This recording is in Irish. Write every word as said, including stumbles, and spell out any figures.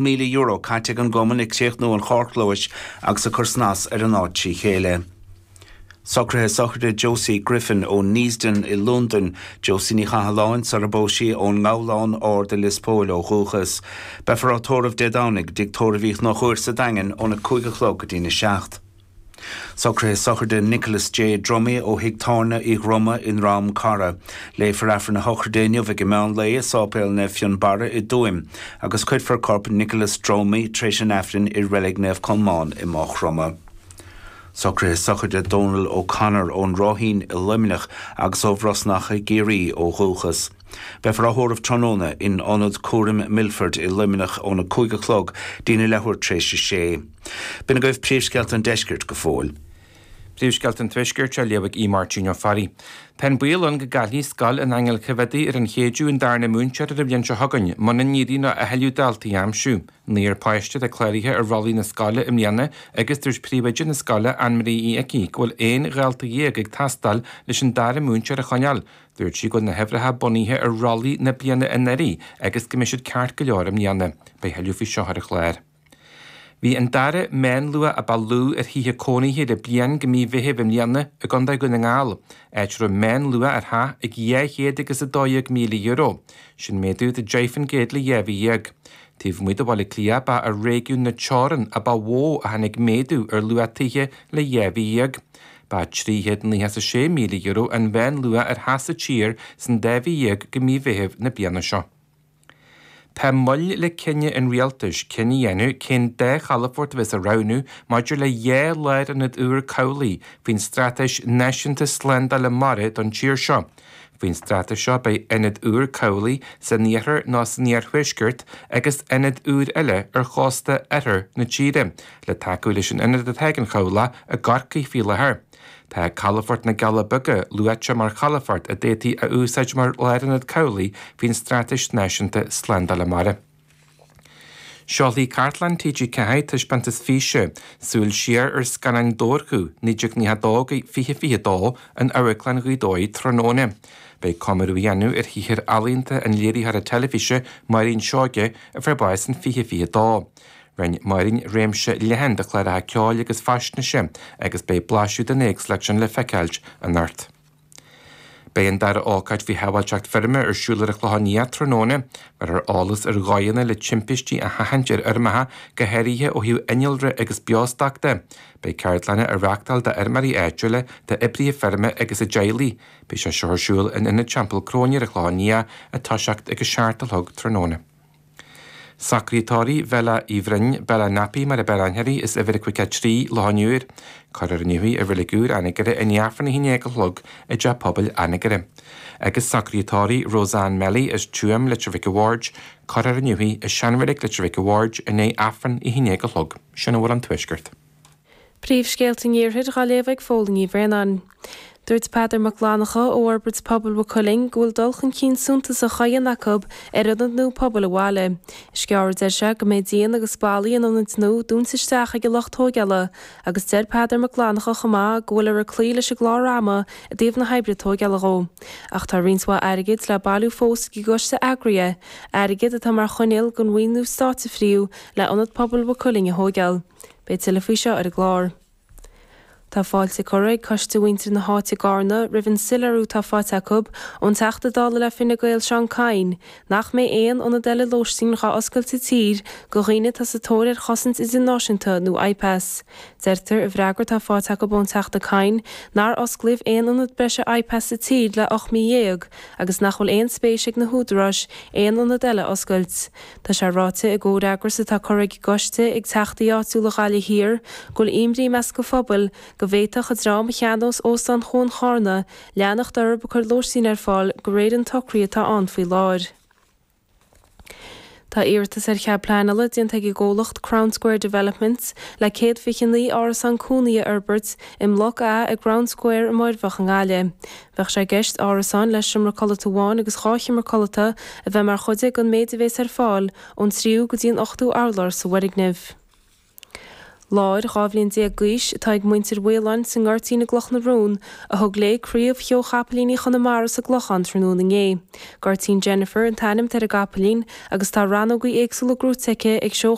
míle euro caite ag an gcumann ag críochnú an charrchlóis agus ag cur snas ar an áit trí chéile. Socruithe sochraide Josie Griffin ó Neasden i Londain, Josie Ní Chathalláin sar a bpós sí ón nGabhlán Ard i Lios Póil ó dhúchas. Beifear á tórramh Dé Domhnaigh i dTigh Tórraimh Uí Chonchúir sa Daingean óna cúig a chlog go dtína seacht. Socruithe sochraide Nicholas J. Dromey ó Thigh Tábhairne Uí Dhroma i nDrom Cara. Léifear Aifreann na sochraide inniu ag an meán lae i Sáipéal Naomh Fionnbarra i dTuaim, agus cuirfear corp Nicholas Dromey tar éis an Aifrinn i Reilig Naomh Colmán i Maigh Chromtha. Socruithe sochraide Donal O'Connor ón Ráithín i Luimneach agus ó Bhrosnach i gCiarraí ó dhúchas. Beifear á thórramh tráthnóna in Ionad Cúraim Milford i Luimneach óna cúig a chlog dtína leathuair tar éis a sé. B'in agaibh príomhscéalta an deiscirt go fóill. Príomhscéalta an Tuaiscirt á léamh ag Aodh Máirtín Ó Fearraigh. Tá an baol ann go gcaillfidh Scoil an Aingil Choimhéadaigh ar an Chéideadh an darna múinteoir ar an bhliain seo chugainn, muna n-éiríonn leo a thuilleadh daltaí a aimsiú. Naonúr páiste atá cláraithe ar rollaí na scoile i mbliana agus dúirt príomhoide na scoile Anne-Marie Uí Icí go bhfuil aon dhalta dhéag ag teastáil leis an dara múinteoir a choinneáil. Dúirt sí go bhfuil na huimhreacha bunaithe ar rollaí na bliana anuraidh agus go mbeidh siad ceart go leor i mbliana. Beidh thuilleadh faoi seo ar an chlár. Bhí an dara meánluach a ba lú ar thithe cónaithe le bliain go mí Mheithimh i mbliana i gContae Dhún na nGall, áit a raibh meánluach ar theach ag dhá chéad agus a dó dhéag míle euro. Sin méadú de deich faoin gcéad le dhá mhí dhéag. Taobh amuigh de Bhaile Átha Cliath ba i réigiún na Teorann a ba mhó a tháinig méadú ar luach tithe le dhá mhí dhéag. Ba trí chéad nócha is a sé míle euro an mheánluach ar theach sa tír san dá mhí dhéag go mí Mheithimh na bliana seo. Tá moill le cinneadh an rialtais cinneadh a dhéanamh cén dá chalafort a bheas á roghnú maidir le dhá lárionad úr cabhlaigh faoin Straitéis Náisiúnta Slándála Mara don tír seo. Faoin straitéis seo beidh ionad úr cabhlaigh san iarthar nó san iarthuaisceart agus ionad úr eile ar chósta oirthear na tíre, le tacú leis an ionad atá ag an chabhlach i gCorcaigh faoi láthair. Tá Calafort na gCealla Beaga luaite mar chalafort a d'fhéadfaí a úsáid mar lárionad cabhlaigh faoin Straitéis Náisiúnta Slándála Mara. Seolfaidh Cartlann T G ceathair taispeántas físe, súil siar ar scannáin Dobharchú naoi déag nócha a dó go fiche fiche a dó in Amharclann Ghaoth Dobhair tráthnóna. Beidh comóradh á dhéanamh ar shaothar ealaíonta an léiritheora teilifíse Máirín Seoige a fuair bás in fiche fiche a dó. Rinne Máirín réimse leathan de chláracha ceoil agus faisnéise agus beidh blaiseadh den éagsúlacht sin le feiceáilt anocht. Beidh an dara ócáid faoi shábháilteacht feirme ar siúl ar an Chlochán Liath tráthnóna, mar ar eolas ar dhóigheanna le timpistí a sheachaint ar fheirmeacha, go háirithe ó thaobh innealra agus beostoc de. Beidh ceardlanna á reáchtáil d'fheirmeoirí áitiúla, d'oibrithe feirme agus a dteaghlaigh. Beidh sé seo ar siúl in Ionad Teampall Cróine ar an Chlochán Liath ag toiseacht ag a seacht a chlog tráthnóna. Socruithe tórraimh Bhella Uí Bhroin, Bella Nappy mar a b'fhearr aithne uirthi, as uimhir a caoga a trí, Loch an Iúir. Cuirfear inniu í i Reilig Úr Anagaire i ndiaidh Aifreann a haon déag a chlog i dTeach Pobail Anagaire. Agus socruithe tórraimh Roseanne Melly as Tuaim, Leitir Mhic a' Bhaird, cuirfear inniu í i Seanreilig Leitir Mhic a' Bhaird i ndiaidh Aifreann a haon déag a chlog. Sin a bhfuil ón Tuaisceart. Príomhscéalta an Iarthair á léamh ag Fódhla Ní Bhraonáin. Dúirt Peadar Mac Fhlannchadha ó Fhorbairt Pobail Mhaigh Cuilinn go bhfuil dul chun cinn suntasach á dhéanamh acu ar ionad nua pobail an bhaile. Is gearr a deir sé go mbeidh díon agus ballaí an ionaid nua dúnta isteach ag an lucht tóigeála agus deir Peadar Mac Fhlannchadha chomh maith go bhfuil ag cloí leis an gclár ama i dtaobh na hoibre tóigeála dhó. Ach tá roinnt mhaith airgid le bailiú fós ag an gcoiste eagraithe, airgead atá mar choinníoll don mhaoiniú stáit a fríothadh le ionad pobail Mhaigh Cuilinn a thóigeáil. Beidh tuilleadh faoi seo ar an gclár. Tá fáilte curtha ag coiste mhuintir na háite i gCarna roimh an soiléiriú atá faighte acu ón Teachta Dála le Fine Gael Seán Kyne nach mbeidh aon ionad eile lóistín dhá oscailt sa tír do dhaoine atá sa tóir ar chosaint idirnáisiúnta nó IPAS. Deirtear i bhfreagra atá faighte acu ón Teachta Kyne nár osclaíodh aon ionad breise IPAS sa tír le ocht mí dhéag agus nach bhfuil aon spéis ag na húdaráis aon ionad eile a oscailt. Tá sé ráite i gcomhfhreagras atá curtha ag an gcoiste ag teachtaí áitiúla Ghaillimh Thiar go bhfuil imní i measc an phobail go bhféadfadh an dream a cheannós Óstán Chuan Charna leanacht orthu ag cur lóistín ar fáil de réir an tsocraithe atá ann faoi láthair. Tá iarratas ar chead pleanála déanta ag an gcomhlacht Crown Square Developments le céad fiche naoi árasán cónaí a fhorbairt i mBloc A i gCrown Square i Muirbheach i nGaillimh. Bheadh sé i gceist árasáin le seomra codlata amháin agus dhá sheomra codlata a bheith mar chuid den méid a bhéas ar fáil ón tríú go dtí an ochtú urlár sa bhfoirgneamh. Láir dhá bhliain déag d'aois atá ag muintir Mhaoláin sa nGoirtín i gCloch na Rón a thug léi Craobh Sheó Chapaillíní Chonamara sa gClochán tráthnóna inné. Goirtín Jennifer an t-ainm atá ar an gcapaillín agus tá rannógaí éagsúla gnóite aici ag seó